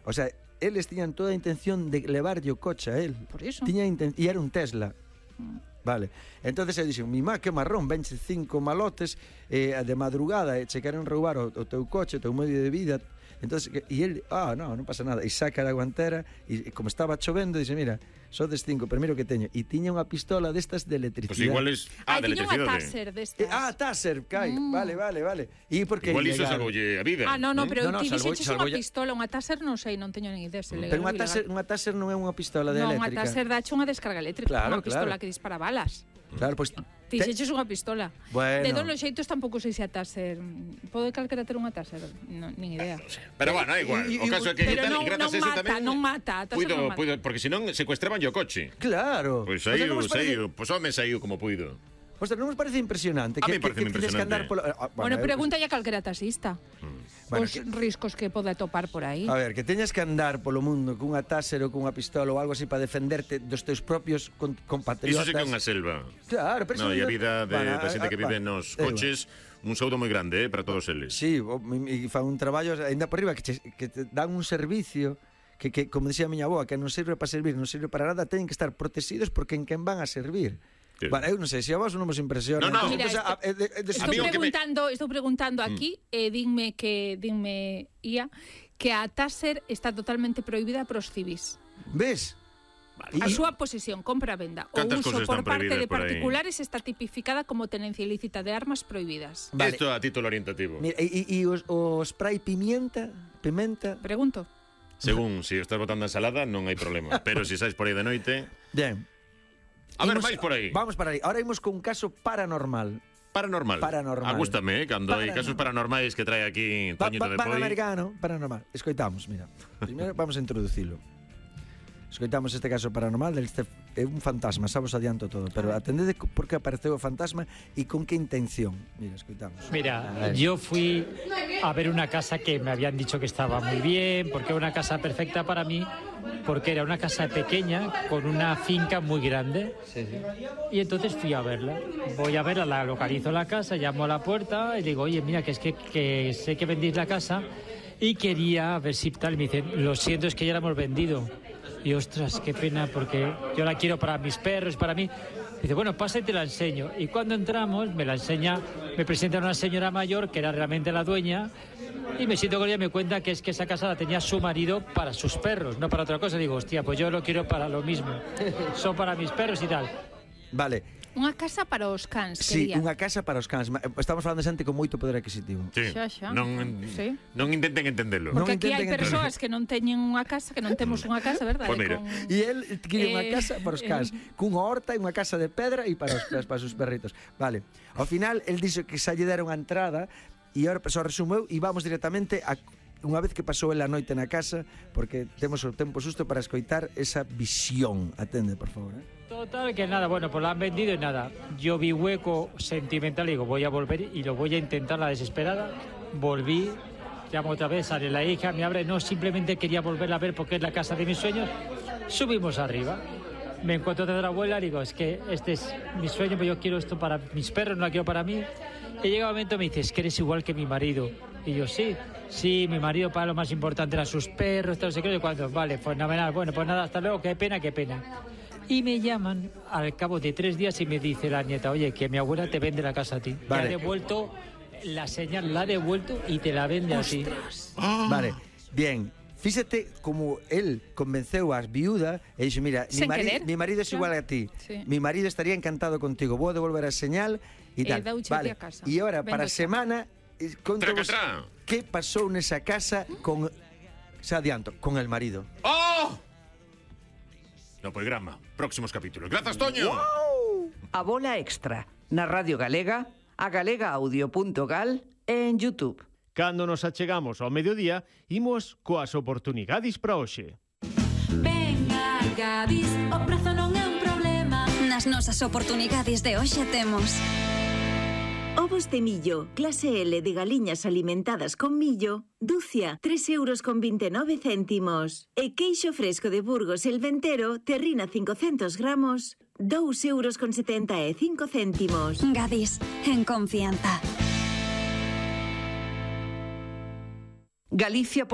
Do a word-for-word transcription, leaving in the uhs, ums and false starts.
O sea, eles tiñan toda a intención de levarlle o coche a él. Por iso. Tiña inten... E era un Tesla. Vale. Entonces eu dixen, mi má, que marrón, venche cinco malotes eh, de madrugada e che queren roubar o, o teu coche, o teu medio de vida. Entonces, e ele, ah, no, non pasa nada. E saca da guantera e como estaba chovendo, dixe, mira, sodes cinco, primeiro que teño. E tiña unha pistola destas de electricidade. Pues igual es... Ah, ah de tiña unha electricidade. Taser destas. Eh, ah, Taser, cai. Mm. Vale, vale, vale. E porque igual iso ilegal? salvoulle a vida. Ah, no, no, pero no, no, ti salvou- dixeches salvou unha ya- pistola, unha Taser non sei, non teño nin idea se legal Pero ou unha ilegal. taser, unha taser non é unha pistola de Non, unha eléctrica. Taser dache unha descarga eléctrica, Claro, unha pistola claro. que dispara balas. Claro, pois Ti dixeches unha pistola. Bueno. De donos xeitos tampouco sei se a Taser. Pode calquera ter unha Taser, non, nin idea. Pero bueno, é igual. Y- y- O caso é que Pero tal, non- e grazas non a eso mata, tamén... non mata, a Taser puido, non mata. puido, porque senón secuestraban o coche. Claro. Pois O sea, saiu, non vos parece- saiu, pois home saiu como puido. Ostras, non vos parece impresionante A que, mí que, parece que tedes que andar impresionante. polo... Ah, Bueno, eu- pregúntalle a calquera taxista. Bueno, Os que- riscos que pode topar por aí. A ver, que teñas que andar polo mundo cunha taser ou cunha pistola ou algo así para defenderte dos teus propios con, compatriotas. Iso sí que é unha selva. Claro, pero No, eso e a non- vida de, Bueno, da xente a- que vive a- nos é igual. coches, un saúdo moi grande, eh, para todos eles. Sí, o- e fa un traballo ainda por riba que, che, que te dan un servicio que, que como dicía a miña avoa, que non sirve para servir, non sirve para nada, teñen que estar protegidos porque en quen van a servir. Sí. Bueno, eu non sei, se a vos non vos impresiona. No, no. Entón, Mira, entón, este- a- de- de- de- Estou Amigo, que me- preguntando, estou preguntando aquí, e eh, dinme que dinme Ia que a Taser está totalmente prohibida pros civis. Ves? A súa posesión, compra, venda ou Cantas uso cosas por están parte prohibidas de por aí? particulares está tipificada como tenencia ilícita de armas prohibidas. Vale. Isto a título orientativo. Mira, e, e o, o spray pimienta, pimenta. Pregunto. Según, se si estás botando ensalada, non hai problema. Pero se sais por aí de noite... Bien. A ver, Imos- vais por aí. Vamos para aí. Ahora imos con un caso paranormal. Paranormal. Paranormal. A gústame, eh, cando hai Paranormal. casos paranormais que trae aquí Pa, Toñito pa, de Poi. Panamericano, paranormal. Escoitamos, mira. Primeiro vamos a introducilo. Escoitamos este caso paranormal, este é un fantasma, xa vos adianto todo, pero atendede por que apareceu o fantasma e con que intención. Mira, escoitamos. Mira, yo fui a ver una casa que me habían dicho que estaba muy bien, porque era una casa perfecta para mí, porque era una casa pequeña con una finca muy grande. Sí, sí. Y entonces fui a verla. Voy a verla, la localizo la casa, llamo a la puerta y digo, oye, mira, que es que, que sé que vendéis la casa y quería ver si tal. Y me dicen, lo siento, es que ya la hemos vendido. Y ostras, qué pena, porque yo la quiero para mis perros, para mí. Dice, bueno, pasa y te la enseño. Y cuando entramos, me la enseña, me presenta una señora mayor que era realmente la dueña. Y me siento con ella y me cuenta que es que esa casa la tenía su marido para sus perros, no para otra cosa. Digo, hostia, pues yo lo quiero para lo mismo. Son para mis perros y tal. Vale. Unha casa para os cans, Sí, quería. unha casa para os cans. Ma- Estamos falando de xente con moito poder adquisitivo. Sí. Xa, xa. Non, Sí. non intenten entendelo. Non Porque aquí hai intenten persoas que non teñen unha casa, que non temos unha casa, verdade? Pois mira. Con... E el quere unha Eh, casa para os cans, cunha horta e unha casa de pedra e para os para os seus perritos. Vale. Ao final el dixo que xa lle deron a entrada e ahora só resumeu e vamos directamente a unha vez que pasou el a noite na casa, porque temos o tempo xusto para escoitar esa visión. Atende, por favor, eh? Total, que nada, bueno, pues la han vendido y nada. Yo vi hueco sentimental y digo, voy a volver y lo voy a intentar la desesperada. Volví, llamo otra vez, sale la hija, me abre, no, simplemente quería volverla a ver porque es la casa de mis sueños. Subimos arriba. Me encuentro de la abuela y digo, es que este es mi sueño, pero yo quiero esto para mis perros, no lo quiero para mí. Y llega un momento y me dice, es que eres igual que mi marido. Y yo, sí, sí, mi marido para lo más importante eran sus perros, todo no sé qué, y cuánto. Vale, pues fenomenal, bueno, pues nada, hasta luego, qué pena, qué pena. Y me llaman al cabo de tres días y me dice la nieta, oye, que mi abuela te vende la casa a ti. Vale. Te ha devuelto la señal, la ha devuelto y te la vende a ti. Vale. Bien. Fíxate como él convenceu ás viuda e dixo, mira, mi, Sen mari, querer. mi marido é igual a ti. Sí. Mi marido estaría encantado contigo. Vou devolver a señal e E tal. dauche Vale. a casa. E agora para a Vendo xa. semana eh, contovos Tracatrá. que pasou nesa casa con xa adianto, con el marido. ¡Oh! No programa. Próximos capítulos. Grazas, Toño. A bola extra na Radio Galega, a galega audio punto gal e en YouTube. Cando nos achegamos ao mediodía, imos coas oportunidades para hoxe. Venga, Gadis, o prezo non é un problema. Nas nosas oportunidades de hoxe temos Ovos de millo, clase L de galiñas alimentadas con millo, dúcia, tres euros con veintenove céntimos. E queixo fresco de Burgos el Ventero, terrina cincocentos gramos, dous euros con setenta e cinco céntimos. Gadis, en confianza. Galicia por